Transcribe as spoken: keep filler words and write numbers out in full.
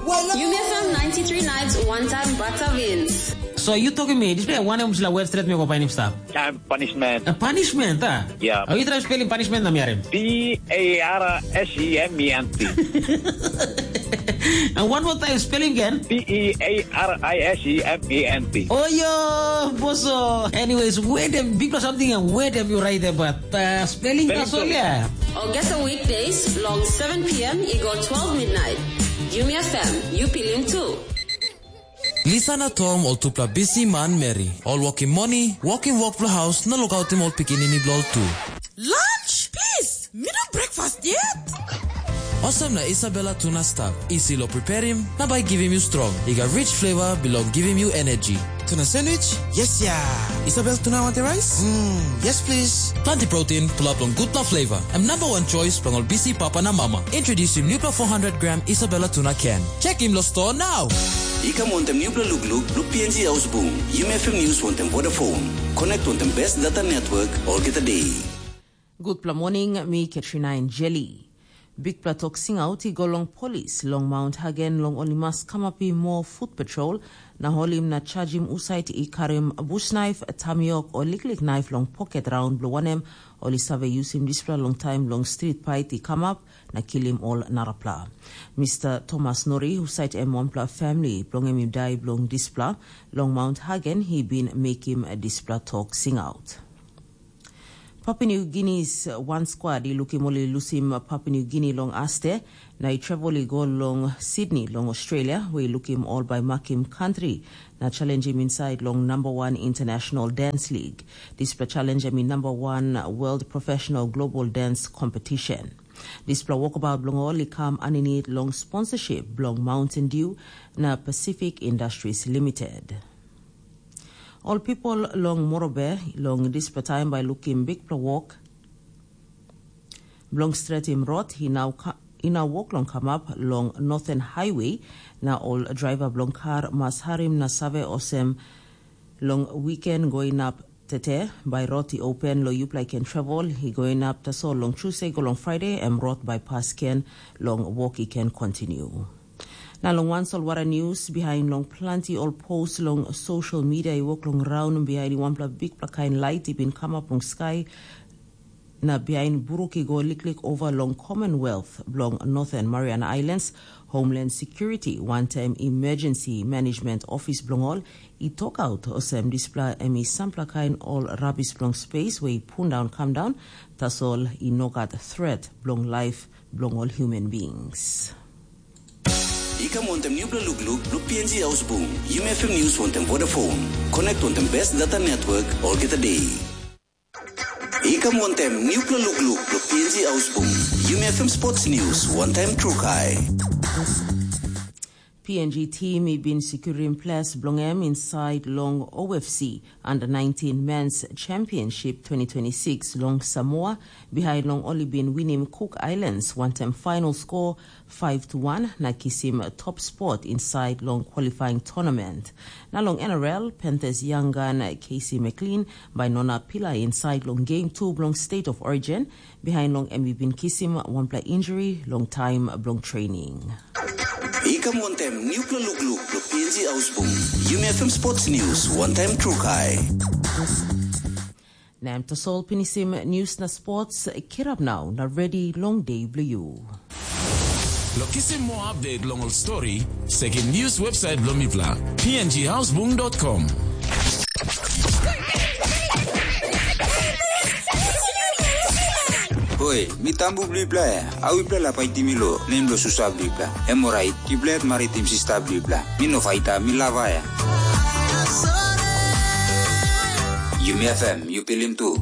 Yumi F M ninety-three nights, one time Bata wins. So you talking me, this way one em sila web straight me go painim stap. Time punishment. A punishment, ah? Yeah. Oh, you try spelling punishment na miarim. P A R S E M E N T. And one more time, spelling again. P E A R I S E M E N T. Oh, yo, boso. Anyways, where them big or something and where them you write about uh, spelling Spelling that's all, bee. Yeah. Or get the weekdays long seven p.m. Eagle twelve midnight. Yumi F M, you feeling too. Lisa na Tom ol tupela bisi manmeri, ol wokim moni, wokim wok bilong haus na lukautim ol pikinini bilong ol tu. Lunch, please! Mi no breakfast yet. Olsem na Isabella tuna stap, isi lo preparim, na bai givim yu strong. I gat rich flavor bilong givim yu energy. Tuna sandwich? Yes, ya. Isabel tuna want the rice? Mm, yes, please. Planti protein, pulap long gutpela flavor. Em number one choice bilong ol bisi papa na mama. Introducing nupela four hundred gram Isabella tuna can. Check him lo store now. I kam wantem nupela lukluk blo P N G Ausbung. Yumi F M News wantem Vodafone. Connect wantem best data network olgeta day. Gutpela morning, mi Katrina Enjeli. Bikpela tok singaut i go long polis long Mount Hagen long ol i mas kamapim moa foot patrol na holim na chajim husat i karim busnaif, tamiok o liklik naif long poket raun bilong wanem ol i save yusim dispela long taim bilong strit pait i kamap na kilim ol narapela. Mister Thomas Nori, husat em wanpela famili bilong em i dai bilong dispela, long Mount Hagen i bin mekim dispela tok singaut. Papua New Guinea's wan squad i lukim ol i lusim Papua New Guinea long aste, na i travel i go long Sydney long Australia, we i lukim ol bai makim kantri na challengim inside long number one international dance league. Dispela challenge em i number one world professional global dance competition. Dispela wokabaut bilong ol i kam aninit long sponsorship bilong Mountain Dew na Pacific Industries Limited. Ol pipel long Morobe long dispela taim bai lukim bikpela wok bilong stretim rot i nau wok long kamap long Northern Highway, na ol draiva bilong kar mas harim na save olsem, long wiken go inap tete, bai rot i open long yupela i ken travel, i go inap tasol long Tuesday go long Friday, em rot bai pas ken long wok i ken kontinu. Na long wan solwara news, bihain long planti ol post long social media i wok long raun bihain i wanpela bikpela kain lait i bin kamap long skai, na bihain bruk i go liklik ova long Commonwealth bilong Northern Mariana Islands, Homeland Security wantaim Emergency Management Office bilong ol i tokaut olsem dispela em i sampela kain ol rabis bilong space we i pundaun kam daun, tasol i no gat threat bilong laip bilong ol human beings. I kam wantem nupela lukluk blo P N G Ausbung, Yumi F M News wantem Vodafone. Connect wantem best data network olgeta day. I kam wantem nupela lukluk blo P N G Ausbung, Yumi F M Sports News wantaim Trukai. P N G team i bin securim ples bilong em inside long O F C Under nineteen Men's Championship twenty twenty-six long Samoa, behind long ol i bin winim Cook Islands wantem final score five to one na kisim top spot inside long qualifying tournament. Na long N R L, Panthers young gun Casey McLean bai no inap pilai inside long game two bilong State of Origin, behind long em i bin kisim wanpela injury long taim bilong training. I kam wantem nupela lukluk blo P N G Ausbung, Yumi F M Sports News wantaim Trukai. Na em tasol pinisim news na sports, kirap nau na ready long day bilong you. Lo kisim moa update long ol story, sekim news website bilong mipela, P N G Ausbung dot com. Hoi, mi tambu bilipela ya. Au ipela la paitim mi lo nem lo susa bilipela. Em orait, ipela yet maritim sista bilipela. Mi no faita, mi lava ya. Yumi F M, yu pilim tu.